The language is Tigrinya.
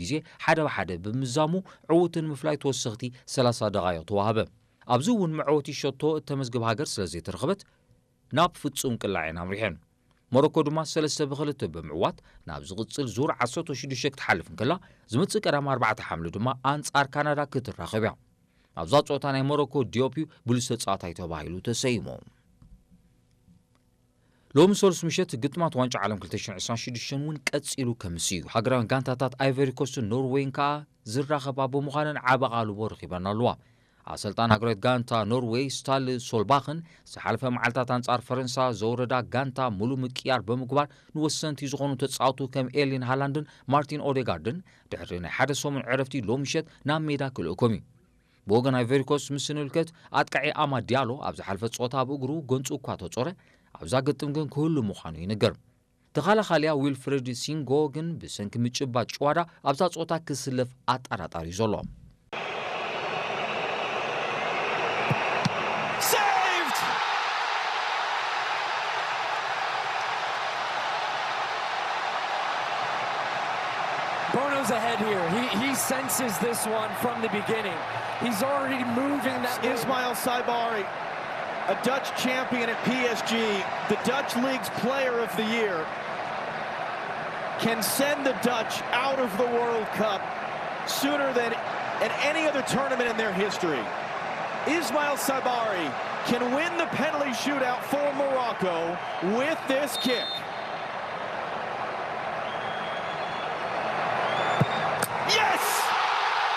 ግዜ ሓደ ብሓደ ብምዛሙ ዕዉትን ምፍላይ ተወሰኽቲ ሰላሳ ደቓይቕ ተዋህበ። ኣብዚ እውን መዕወቲ ሸቶ እተመዝግብ ሃገር ስለ ዘይተረኽበት ናብ ፍጹም ቅላዕ እየን ኣምሪሐን። ሞሮኮ ድማ ሰለስተ ብክልተ ብምዕዋት ናብ ዝቕጽል ዙር ዓሰርተ ሽዱሽተ ክትሓልፍ እንከላ፣ ዝመጽእ ቀዳም ኣርባዕተ ሓምለ ድማ ኣንጻር ካናዳ ክትራኸብ እያ። ኣብዛ ጸወታ ናይ ሞሮኮ ዲዮፕዩ ብሉጽ ተጻዋታይ ተባሂሉ ተሰይሙ። ሎሚ ሰሉስ ምሸት ግጥማት ዋንጫ ዓለም ክልተ ሽሕን ዕስራን ሽዱሽተን እውን ቀጺሉ ከምስ እዩ። ሃገራውያን ጋንታታት ኣይቨሪ ኮስትን ኖርዌይን ከኣ ዝራኸባ ብምዃነን ዓቢ ኣቓልቦ ረኺበን ኣለዋ። ኣሰልጣን ሃገራዊት ጋንታ ኖርዌይ ስታል ሶልባኽን ዝሓለፈ መዓልታት ኣንጻር ፈረንሳ ዘውረዳ ጋንታ ሙሉ ምቅያር ብምግባር ንወሰንቲ ዝኾኑ ተጻወቱ ከም ኤርሊን ሃላንድን ማርቲን ኦዴጋርድን ድሕሪ ናይ ሓደ ሰሙን ዕረፍቲ ሎሚ ምሸት ናብ ሜዳ ክልእኮም እዩ። ብወገን ኣይቨሪኮስት ምስ ንልከት ኣጥቃዒ ኣማ ዲያሎ ኣብ ዝሓለፈ ጸወታ ብእግሩ ጎንጹ እኳ ተጾረ ኣብዛ ግጥም ግን ክህሉ ምዃኑ ይንገር። ተኻላኻሊያ ዊልፍሬድ ሲንጎ ግን ብሰንኪ ምጭባጥ ጭዋዳ ኣብዛ ጸወታ ክስለፍ ኣጠራጣሪ እዩ ዘሎ። Saved! Bono's ahead here. He, he senses this one from the beginning. He's already moving that. Ismail Saibari, a Dutch champion at P S G, the Dutch League's Player of the Year, can send the Dutch out of the World Cup sooner than at any other tournament in their history. Ismail Saibari can win the penalty shootout for Morocco with this kick.